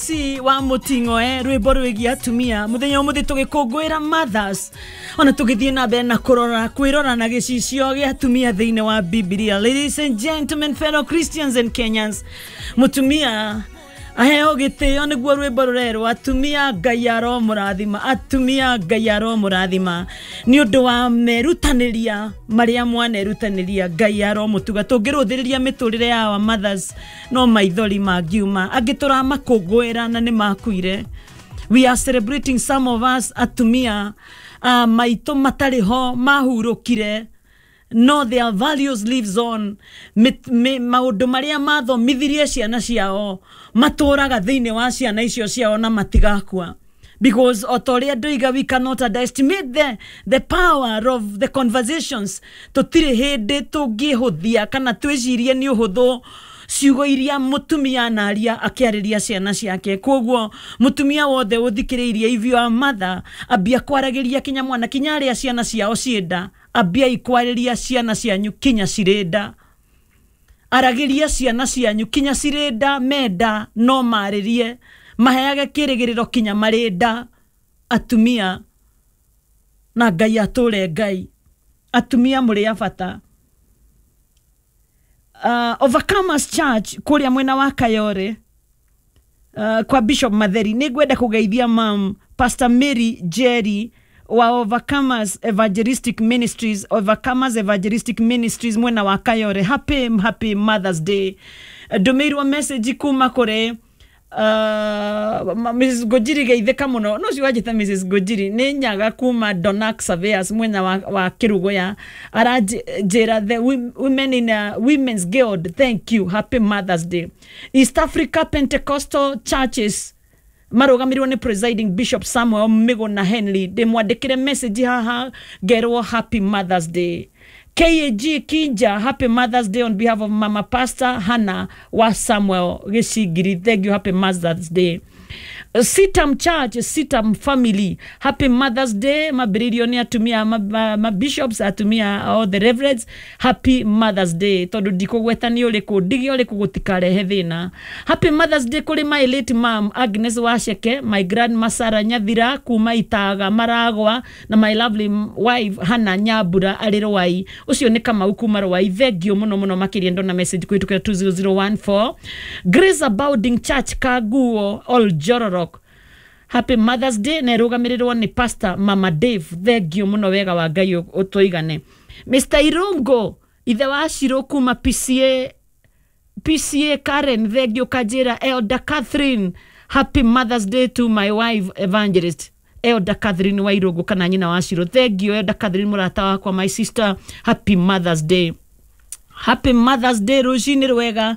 MC wa Muting'oe rwĩmbo rwĩgiĩ atumia mũthenya ũmũthĩ tũgĩkũngũĩra mothers ona tũgĩthiĩ na mbere na kũrora kwĩrora na gĩcicio gĩa atumia thĩinĩ wa Bibilia. Ladies and gentlemen, fellow Christians and Kenyans, mũtumia aheo gĩtĩo nĩguo rwĩmbo rũrerwo atumia Ngai aromũrathima, atumia Ngai aromũrathima nĩ ũndũ wa merutanĩria marĩa mwanerutanĩria, Ngai aromũtuga. Tũngĩrũthĩrĩria mĩtũrĩre ya our mothers no maithori mangiuma, angĩ tũramakũngũĩra na nĩ makuire. We are celebrating some of us atumia maitũ matarĩ ho mahurũkire, no their values lives on. Maũndũ marĩa mathomithirie ciana ciao matũraga thĩinĩ wa ciana icio ciao na matigakua, because o ta ũrĩa ndoiga, we cannot underestimate the power of the conversations. Tũtirĩ hĩndĩ tũngĩhũthia kana twĩcirie nĩ ũhũthũ ciugo iria mũtumia anaria akĩarĩria ciana ciake. Koguo mũtumia wothe ũthikĩrĩirie, if you are mother, ambia kwaragĩria kinya mwana, kinya arĩa ciana ciao ciĩnda, ambiai kwarĩria ciana cianyu kinya cirĩ nda. Aragĩria ciana cianyu kinya cirĩ nda, menda no marĩrie, maheage kĩrĩgĩrĩro kinya marĩ nda. Atumia na Ngai atũre Ngai, atumia mũrĩ a bata. Overcomers Church kũrĩa mwena wa Kayore, kwa Bishop Matheri, nĩ ngwenda kũgeithia mam Pastor Mary Jerry wa Overcomers Evangelistic Ministries, Overcomers Evangelistic Ministries mwena wa Kayore. Happy happy Mother's Day. Ndũmĩirwo message kuma kũrĩ Mrs Gojiri, geithĩka mũno no cio wanjĩta Mrs Gojiri nĩ nyaga kuma Donak Surveyors mwena wa Kĩrũgũya, aranjĩra the women in Women's Guild, thank you, happy Mother's Day. East Africa Pentecostal Churches marũgamĩrĩirwo nĩ presiding Bishop Samuel Miguna Henley, ndĩmwandĩkĩre message haha ngerwo happy Mother's Day. KAG Kinja, happy Mother's Day on behalf of Mama Pastor Hannah wa Samuel Gĩcingiri, thank you, happy Mother's Day. Sitam Church, Sitam Family, happy Mother's Day. Mambĩrĩirio nĩ atumia ma bishops, atumia all the reverends, happy Mother's Day. Tondũ ndikũgweta nĩ ũrĩkũ, ndige ũrĩkũ gũtikarehe thĩna. Happy Mother's Day kũrĩ my late mom Agnes Wacheke, my grandma Sarah Nyathira kuma Itaga Maragwa, na my lovely wife Hannah Nyambura arĩ Rwai. Ũcio nĩ Kamau kuma Rwai, thengio mũno mũno makĩria. Ndona message kũhĩtũkĩra 20014. Grace Abounding Church Kaguo Oljororok, happy Mother's Day na ĩrũgamĩrĩrwo nĩ Pastor Mama Dave, thengio mũno, wega wa Ngai ũtũigane. Mr Irungo ithe wa Shiro kuma PCA, PCA Karen, thengio. Kanjĩra Elder Catherine, happy Mother's Day to my wife Evangelist Elder Catherine wa Irungu kana nyina wa Shiro, thengio Elder Catherine mũrata wakwa, my sister, happy Mother's Day. Happy Mother's Day, rũcinĩ rwega.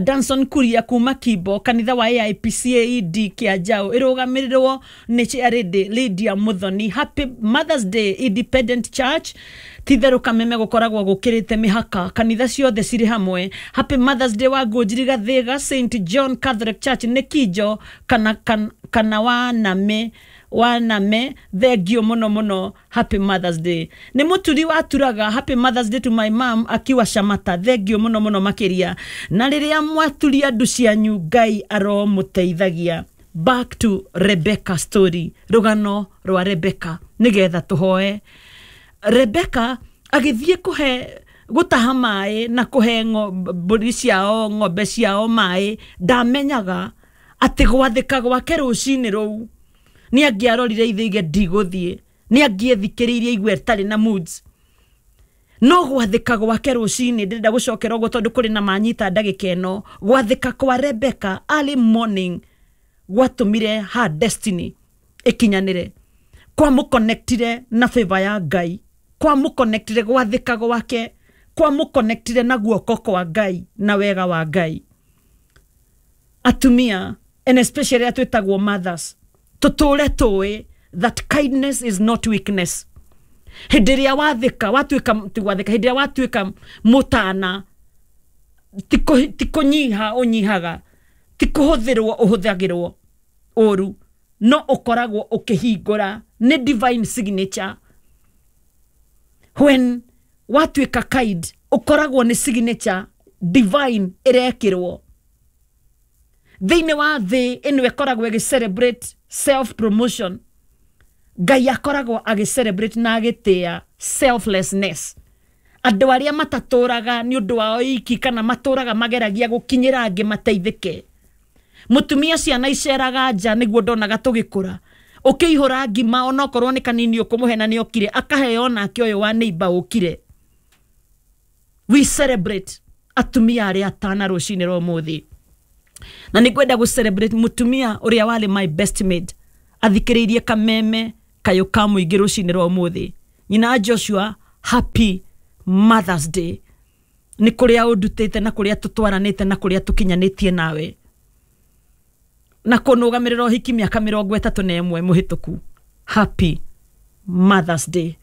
Danson Kuria kuma Kimbo, kanitha wa AIPCAED Kĩanjaũ, ĩrũgamĩrĩrwo nĩ Charity Lydia Muthoni, happy Mother's Day. Independent Church, titherũ kameme gũkoragwo gũkĩrĩte mĩhaka, kanitha ciothe cirĩ hamwe, happy Mother's Day. Wa Ngũnjiri Gathĩga, St John Catholic Church nĩ Kinjo kana waname waname, thengio mũno mũno, happy Mother's Day. Nĩ mũturi waturaga, happy Mother's Day to my mom akiwa Shamata, thengio mũno mũno makĩria. Na rĩrĩa mwaturia ndu cianyu, Ngai aromũteithagia. Back to Rebecca story, rũgano rwa Rebecca, nĩgetha tũhoe. Rebecca agĩthiĩ kũhe gũtaha maĩ na kũhe mbũri ciao, ng'ombe ciao maĩ. Ndamenyaga atĩ gwathĩka gwake rũcinĩ rũu, nĩ angĩarorire ithe ige ndigũthiĩ, nĩ angĩethikĩrĩirie igue ĩtarĩ na moods, no gwathĩka gwake rũcinĩ, ndĩrenda gũcokera ũguo tondũ kũrĩ na manyita ndagĩka ĩno. Gwathĩka kwa Rebecca early morning gwatũmire her destiny ĩkinyanĩre, kwamũconnectire na favor ya Ngai, kwamũconnectire, gwathĩka gwake kwamũconnectire na guoko kwa Ngai na wega wa Ngai. Atumia and especially atwĩtagwo mothers, tũtũre tũĩ that kindness is not weakness. Hĩndĩ ĩrĩa wathĩka watuĩka, ti gwathĩka, hĩndĩ ĩrĩa watuĩka mũtana, ti kũnyiha ũnyihaga, ti kũhũthĩrwo ũhũthagĩrwo ũru, no ũkoragwo ũkĩhingũra nĩ divine signature. When watuĩka kind, ũkoragwo nĩ signature divine ĩrekĩrwo. Thĩinĩ wa thĩ ĩno ĩkoragwo ĩgĩ celebrate self promotion, Ngai akoragwo agĩ celebrate na agĩtĩa selflessness. Andũ arĩa matatũraga nĩ ũndũ wao iki kana matũraga mageragia gũkinyĩra angĩ mateithĩke. Mũtumia ciana iceraga nja nĩguo ndonaga tũgĩkũra, ũkĩihũra ngima onokorwo nĩ kanini ũkũmũhe na nĩ okire akaheo nake ũyũ wa neighbor ũkire. We celebrate atumia arĩa atana rũcinĩ rwa ũmũthĩ, na nĩ ngwenda gũ celebrate mũtumia ũrĩa warĩ my best mate athikĩrĩirie kameme kayũ ka mũingĩ rũcinĩ rwa ũmũthĩ, nyina Joshua. Happy Mother's Day. Nĩ kũrĩa ũndutĩte na kũrĩa tũtwaranĩte na kũrĩa tũkinyanĩtie nawe na kũnũgamĩrĩra ũhiki mĩaka 31 mũhĩtũku. Happy Mother's Day.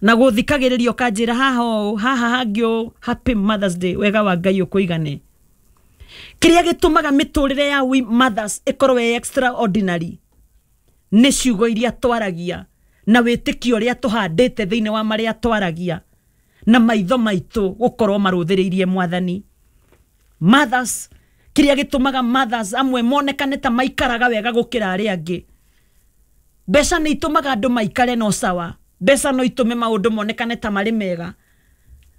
Na gũthikagĩrĩria ũkanjĩra haha ũũ haha hangĩ ũũ. Happy Mother's Day. Wega wa Ngai ũkũigane. Kĩrĩa gĩtũmaga mĩtũrĩre ya we mothers ĩkorwo ĩ extraordinary nĩ ciugo iria twaragia na wĩtĩkio ũrĩa tũhandĩte thĩinĩ wa marĩa twaragia na maitho maitũ gũkorwo marũthĩrĩirie Mwathani. Mothers, kĩrĩa gĩtũmaga mothers amwe monekane ta maikaraga wega gũkĩra arĩa angĩ, mbeca nĩ itũmaga andũ maikare no sawa, mbeca no itũme maũndũ monekane ta marĩ mega,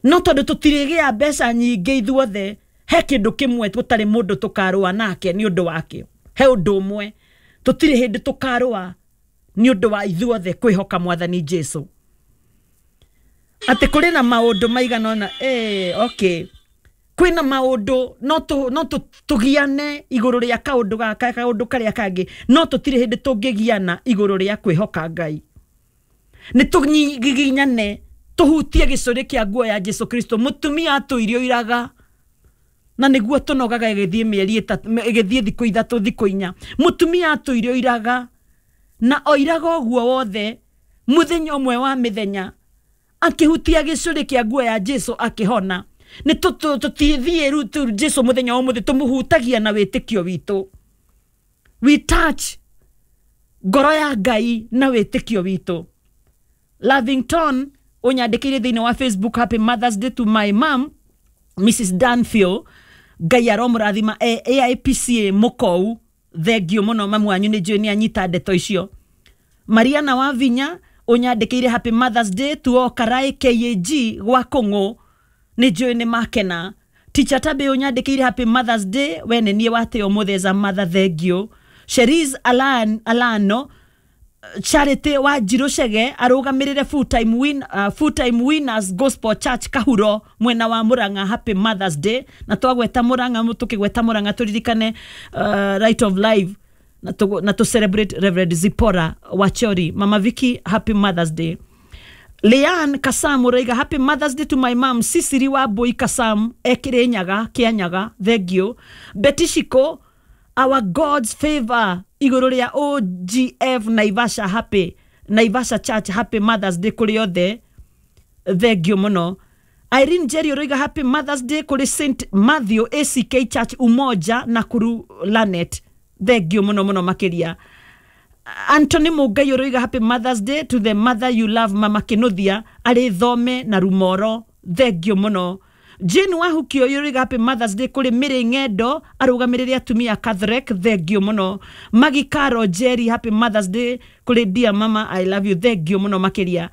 no tondũ tũtirĩgĩa mbeca nyingĩ ithuothe, he kĩndũ kĩmwe tũtarĩ mũndũ tũkarũa nake nĩ ũndũ wakĩo. He ũndũ ũmwe tũtirĩ hĩndĩ tũkarũa nĩ ũndũ wa ithuothe kwĩhoka Mwathani Jesu. Atĩ kũrĩ na maũndũ maigana ũna, okay, kwĩna maũndũ no tũgiane igũrũ rĩa kaũndũ gaka kaũndũ karĩa kangĩ, no tũtirĩ hĩndĩ tũngĩgiana igũrũ rĩa kwĩhoka Ngai. Nĩ tũgiginyane tũhutie gĩcũrĩ kĩa nguo ya Jesu Kristo. Mũtumia atũirio iraga na nĩguo tũnogaga ĩgĩthiĩ mĩeri ĩtatũ, ĩgĩthiĩ thikũ 3 thikũ 4. Mũtumia atũirio iraga na oiraga ũguo wothe, mũthenya ũmwe wa mĩthenya akĩhutia gĩcũrĩ kĩa nguo ya Jesu akĩhona. Nĩ tũtithiĩ rĩu Jesu mũthenya wa ũmũthĩ tũmũhutagia na wĩtĩkio witũ. We touch ngoro ya Ngai na wĩtĩkio witũ. Lavington ũnyandĩkĩire thĩinĩ wa Facebook, happy Mother's Day to my mom Mrs Danfield. Ngai aromũrathima. AIPCA mũkou, thengio mũno mamu wanyu, nĩ njũĩ nĩ anyita ndeto icio. Mariana wa Vinya ũnyandĩkĩire happy Mother's Day to all Karai KAG gwa Kũng'ũ, nĩ njũĩ nĩ makena. Teacher Tabe ũnyandĩkĩire happy Mother's Day, we nĩ niĩ watĩ ũmũthĩ as a mother, thengio. Cherise Alano Charity wa Njirũ Chege arũgamĩrĩre full time winners Gospel Church Kahuro mwena wa Murang'a, happy Mother's Day. Na twagweta Murang'a, tũkĩgweta Murang'a tũririkane Right of Life na to celebrate Reverend Zipporah Wachori. Mama Vicky, happy Mother's Day. Leanne Kasam ũraiga happy Mother's Day to my mom Sisiri wa Mbui Kasam ekĩrĩ nyaga kĩa thengio. Betty Shiko, our God's favor igũrũ rĩa OGF Naivasha, happy Naivasha Church, happy Mother's Day kũrĩ othe, thengio mũno. Irene Jerry ũraiga happy Mother's Day kũrĩ St Matthew ACK Church Umoja Nakuru Lanet, thengio mũno mũno makĩria. Anthony Mugai ũroiga happy Mother's Day to the mother you love Mama Kinuthia arĩ Thome na Rumoro, thengio mũno. Jane Wahukio ũroiga happy Mother's Day kũrĩ Mĩrĩ Ng'endo arũgamĩrĩre atumia Catholic, thengio mũno. Maggie Caro Jerry, happy Mother's Day kũrĩ dear mama, I love you, thengio mũno makĩria.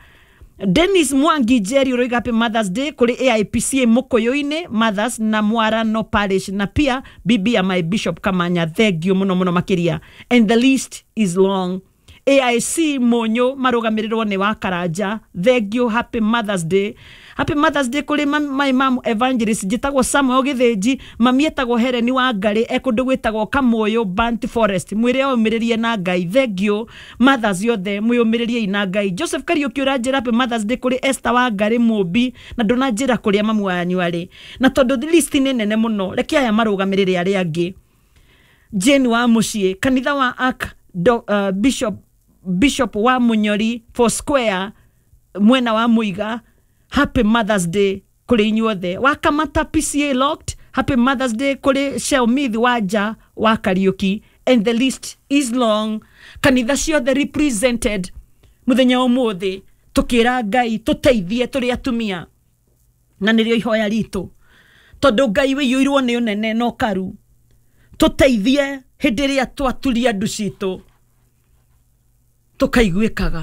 Dennis Mwangi Jerry ũroiga happy Mother's Day kũrĩ AIPCA Mũkũyũ-inĩ Mothers na Mwarano Parish na pia bibi ya my Bishop Kamanya, thengio mũno mũno makĩria. And the list is long. AIC Monyo marũgamĩrĩrwo nĩ wa Karanja, thengio, happy Mother's Day. Happy Mother's Day kũrĩ my mom evangelist njĩtagwo Samuel Gĩthĩnji, mami etagwo Helen wa Ngarĩ e kũndũ gwĩtagwo Kamũyũ Burnt Forest, mwĩre omĩrĩrie na Ngai, thengio. Mothers yothe mwĩyũmĩrĩriei na Ngai. Joseph Kariũki ũranjĩra happy Mother's Day kũrĩ Esther wa Ngarĩ Mũmbi, na ndũnanjĩra kũrĩa mamu wanyu arĩ, na tondũ list nĩ nene mũno reke aya marũgamĩrĩre arĩa angĩ. Jane wa Mũciĩ, kanitha wa Ark Bishop wa Munyori Four Square mwena wa Muiga, happy Mother's Day kũrĩ inyuothe. Wakamata PCA Locked, happy Mother's Day kũrĩ Shelmith Wanja wa Kariuki. And the list is long. Kanitha ciothe represented mũthenya ũmũthĩ tũkĩra Ngai tũteithie tũrĩ atumia, na nĩrĩo ihoya ritũ, tondũ Ngai wĩiyũirwo nĩ ũnene na ũkaru. Tũteithie hĩndĩ ĩrĩa twaturia ndu citũ tũkaiguĩkaga.